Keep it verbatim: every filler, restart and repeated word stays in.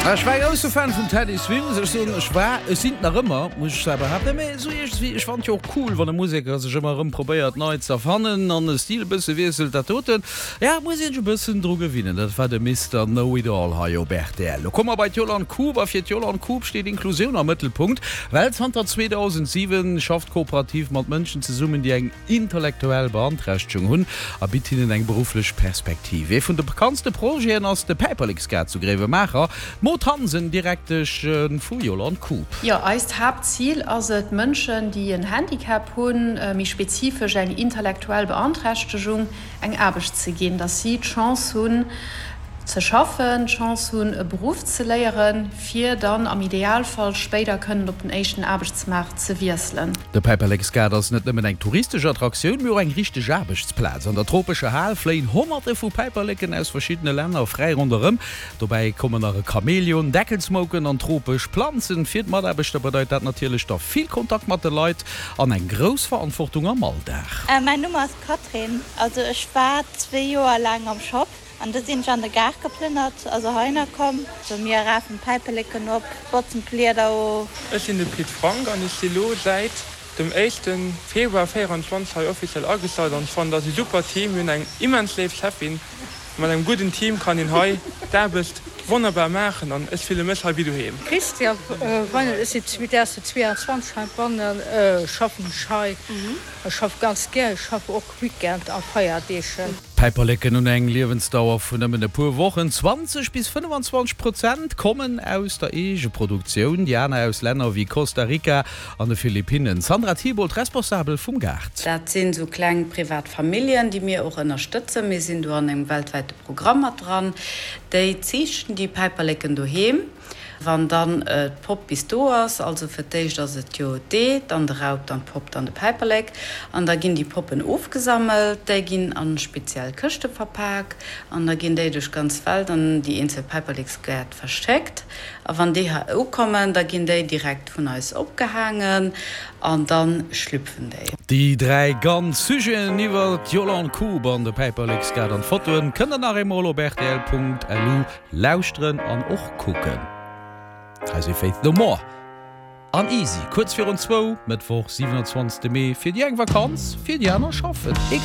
Ech war grousse Fan vum Teddy Swims. Ech soen, ech war, ech sinn nach ëmmer, muss ech selwer behaapten, mee sou iergendwéi, ech fannen jo och cool, wann e Museker sech ëmmer erëm probéiert nei ze erfannen an e Stil e bësse wiesselt. Dat doten, ja, muss een sech e bëssen dru gewinnen. Dat war de Mister Know It All hei op R T L. Lo komme mer bei d'Yolande Koob a fir d'Yolande Koob steet Inklusioun am Mëttelpunkt, well zanter zweedausendsiwen schafft d'Kooperativ mat Mënschen zesummen, déi eng intellektuell Beanträchtegung hunn a bitt hinnen eng berufflech Perspektiv. Ee vun de bekanntste Projeten ass de Päiperleksgaart zu Gréiwemaacher. D'Maud Hansen, Direktesch vu Yolande Koob. Jo, eist Haaptzil ass et, Mënschen, déi en Handicap hunn, méi spezifesch eng intellektuell Beanträchtegung, eng Aarbecht ze ginn, dass si d'Chance hunn ze schaffen, d'Chance hunn e Beruff ze léieren, fir dann am Idealfall spéider kënnen op den éischten Aarbechtsmaart ze wiesselen. De Päiperleksgaart ass net nëmmen eng touristesch Attraktioun, mee och eng richteg Aarbechtsplaz. An der tropescher Hal fléien Honnerte vu Päiperleken aus verschiddene Länner fräi ronderëm. Dobäi kommen nach e Chamäleon, Deckelsmouken an tropesch Planzen. Fir d'Mataarbechter bedeit dat natierlech da vill Kontakt mat de Leit an eng grouss Verantwortung am Alldag. Mäin Numm ass Katrin, also ech war zwee Joer laang am Shop an du sinn ech an de Gaart geplënnert, also heihinner komm. Also mir rafen d'Päiperleken op, botzen d'Blieder of. Ech sinn de Pit Frank an ech si lo säit dem éischte Februar véierundzwanzeg hei offiziell agestallt an ech fannen, dat ass e super Team. Mir hunn eng immens léif Cheffin. Mat engem gudden Team kann een hei d'Aarbecht wonnerbar maachen an ech fille mech hei wéi doheem. Christian Weinel, ech sinn zweedausendzweeanzwanzeg heibannen, schaffen ech hei. Ech schaffe ganz gär, ech schaffe och Weekend a Feierdeeg. Päiperleken hunn eng Liewensdauer vun nëmmen e puer Wochen. zwanzeg bis fënnefenzwanzeg Prozent kommen aus der Eegeproduktioun, déi aner aus Länner wéi Costa Rica an de Philippinnen. Sandra Thibault, Responsabel vum Gaart. Dat sinn esou kleng privat Familljen, déi mir och ënnerstëtzen. Mir sinn do an engem weltwäite Programm mat dran. Déi ziichten déi Päiperleken doheem. Wann dann d'Popp bis do ass, also fir d'éischt ass et jo d'Ee, dann de Raup, dann d'Popp, dann de Päiperlek, an da ginn déi Poppen ofgesammelt, déi ginn a speziell Këschte verpak an da ginn déi duerch d'ganz Welt an déi eenzel Päiperleksgäert verschéckt. A wann déi hei ukommen, da ginn déi direkt vun eis opgehaangen an da schlüpfen déi. Déi dräi ganz Sujeten iwwer d'Yolande Koob an de Päiperleksgaart an d'Fotoen kënnt der nach eemol op rtl Punkt L U lauschteren an och kucken. Hei si Faith No More an Easy, kuerz virun zwou, Mëttwoch, siwenanzwanzegste Mee. Fir déi eng Vakanz, fir déi aner schaffen.